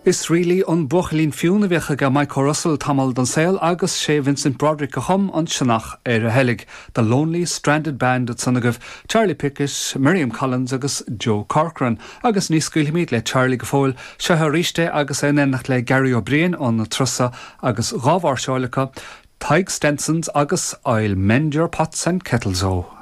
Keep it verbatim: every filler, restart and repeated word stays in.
Is really an buachaillín fiún a bheadh aige Michael Russell tamall den saol agus sé Vincent Broderick a chum an sionach ar a heilg, The Lonely Stranded Band ansan agaibh, Charlie Pickett, Miriam Collins agus Joe Corcoran, agus ní scaoilfimid le Charlie go fóill seo arís é agus é in éineacht le Gary O'Brien ón Trusa agus dhá mháirseáil acu, Tadhg Stensons agus I'll Mend Your Pots and Kettles O.